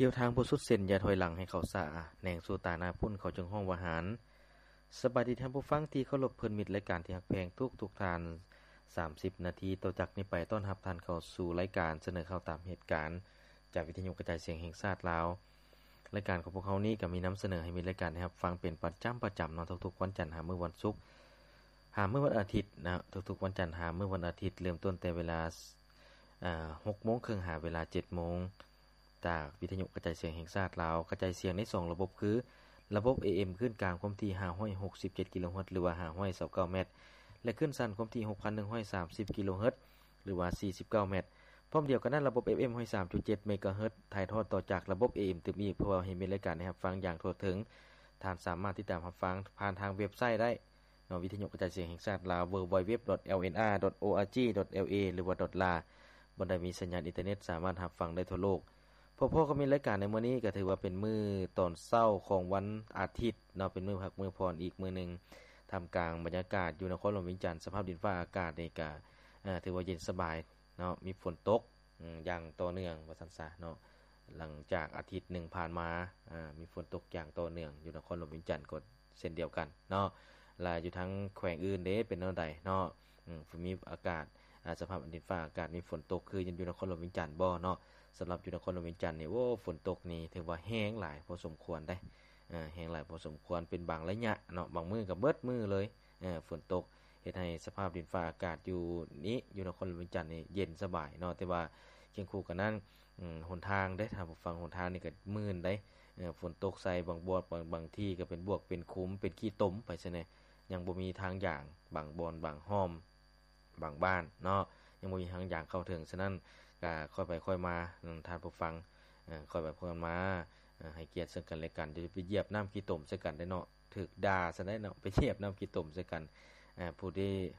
ກ່ຽວທາງບໍ່ສຸດເສັ້ນ ຢ່າຖອຍຫຼັງໃຫ້ເຂົ້າຊ້າ ແນງສູ່ຕາໜ້າພຸ້ນ ເຂົາຈຶ່ງຮ້ອງວ່າຫານ. ສະບາຍດີທ່ານຜູ້ຟັງທີ່ເຄົາລົບ ເພື່ອນມິດລາຍການທີ່ຮັກແພງທຸກໆທ່ານ. ສາມສິບນາທີຕໍ່ຈາກນີ້ໄປ ຕ້ອນຮັບທ່ານເຂົ້າສູ່ລາຍການສະເໜີຂ່າວຕາມເຫດການ ຈາກວິທະຍຸກະຈາຍສຽງແຫ່ງຊາດລາວ. ລາຍການຂອງພວກເຮົານີ້ກໍມີນຳສະເໜີໃຫ້ມິດລາຍການໄດ້ຮັບຟັງເປັນປະຈຳ, ປະຈຳເນາະ, ທຸກໆວັນຈັນຫາມື້ວັນສຸກ ຫາມື້ວັນອາທິດນະ, ທຸກໆວັນຈັນຫາມື້ວັນອາທິດ ເລີ່ມຕົ້ນແຕ່ເວລາ ອ່າ ຫົກໂມງເຄິ່ງ ຫາເວລາເຈັດໂມງ ຈາກວິທະຍຸກະຈາຍສຽງແຫ່ງຊາດລາວ ກະຈາຍສຽງໃນສອງລະບົບຄື ລະບົບ ເອເອັມ ຄື້ນກາງຄວາມຖີ່ ຫ້າຮ້ອຍຫົກສິບເຈັດກິໂລເຮີດ ຫຼືວ່າ ຫ້າຮ້ອຍຊາວເກົ້າແມັດ ແລະ ຄື້ນສັ້ນຄວາມຖີ່ ຫົກພັນໜຶ່ງຮ້ອຍສາມສິບກິໂລເຮີດ ຫຼືວ່າ ສີ່ສິບເກົ້າແມັດ. ພ້ອມດຽວກັນນັ້ນ ລະບົບ ເອເອັມ ຮ້ອຍສາມຈຸດເຈັດເມກາເຮີດ ຖ່າຍທອດຕໍ່ຈາກລະບົບ ເອເອັມ ຕື່ມອີກ ເພື່ອເຮັດໃຫ້ມິດລາຍການໄດ້ຮັບຟັງຢ່າງທົ່ວເຖິງ. ທ່ານສາມາດຕິດຕາມຮັບຟັງຜ່ານທາງເວັບໄຊໄດ້ ເນາະ ວິທະຍຸກະຈາຍສຽງແຫ່ງຊາດລາວ www.lnr.org.la ຫຼືວ່າ .la ບ່ອນໃດມີສັນຍານອິນເຕີເນັດສາມາດຮັບຟັງໄດ້ທົ່ວໂລກ. ພໍ້ໆກັບມິດລາຍການໃນມື້ນີ້ ກໍຖືວ່າເປັນມື້ຕອນເຊົ້າຂອງວັນອາທິດເນາະ, ເປັນມື້ພັກມື້ຜ່ອນອີກມື້ໜຶ່ງ. ທ່າມກາງບັນຍາກາດຢູ່ນະຄອນຫຼວງວຽງຈັນ ສະພາບດິນຟ້າອາກາດນີ້ກໍ ເອີ່ ຖືວ່າເຢັນສະບາຍເນາະ, ມີຝົນຕົກ ອືມ ຢ່າງຕໍ່ເນື່ອງວ່າຊັ້ນຊະເນາະ. ຫຼັງຈາກອາທິດໜຶ່ງຜ່ານມາ ອາ ມີຝົນຕົກຢ່າງຕໍ່ເນື່ອງຢູ່ນະຄອນຫຼວງວຽງຈັນກໍເຊັ່ນດຽວກັນເນາະ. ລະຢູ່ທາງແຂວງອື່ນເດ ເປັນແນວໃດເນາະ? ອືມ ມີອາກາດ ອາ ສະພາບດິນຟ້າອາກາດມີຝົນຕົກຄືຢູ່ນະຄອນຫຼວງວຽງຈັນບໍ່ເນາະ? ສຳລັບຢູ່ນະຄອນຫຼວງວຽງຈັນນີ້ ໂອ້ ຝົນຕົກນີ້ຖືວ່າແຮງຫຼາຍພໍສົມຄວນເດ້. ອາ ແຮງຫຼາຍພໍສົມຄວນ ເປັນບາງໄລຍະເນາະ, ບາງມື້ກໍເບິດມື້ເລີຍ ເອີ ຝົນຕົກ ເຮັດໃຫ້ສະພາບດິນຟ້າອາກາດຢູ່ນີ້ ຢູ່ນະຄອນຫຼວງວຽງຈັນນີ້ເຢັນສະບາຍເນາະ. ແຕ່ວ່າຄຽງຄູ່ກັນນັ້ນ ອືມ ຫົນທາງເດ້ທ່ານຜູ້ຟັງ, ຫົນທາງນີ້ກໍມື່ນເດ້. ເອີ ຝົນຕົກໃສ່ບາງບ່ອນ ບາງ ບາງທີ່ກໍເປັນບວກເປັນຂຸມ ເປັນຂີ້ຕົມໄປຊະແນ່, ຍັງບໍ່ມີທາງຍ່າງ ບາງບ່ອນ ບາງຮ່ອມ ບາງບ້ານເນາະ ຍັງບໍ່ມີທາງຍ່າງເຂົ້າເຖິງ. ສະນັ້ນກໍຄ່ອຍໄປຄ່ອຍມາ ອືມ ທ່ານຜູ້ຟັງ ເອີ ຄ່ອຍໄປຄ່ອຍມາ ເອີ ໃຫ້ກຽດເຊິ່ງກັນແລະກັນ, ຢ່າໄປຢຽບນ້ຳຂີ້ຕົມໃສ່ກັນເດ້ເນາະ. ຖືກດ່າຊັ້ນໄດ໋ເນາະ, ໄປຢຽບນ້ຳຂີ້ຕົມໃສ່ກັນ. ອາ ຜູ້ທີ່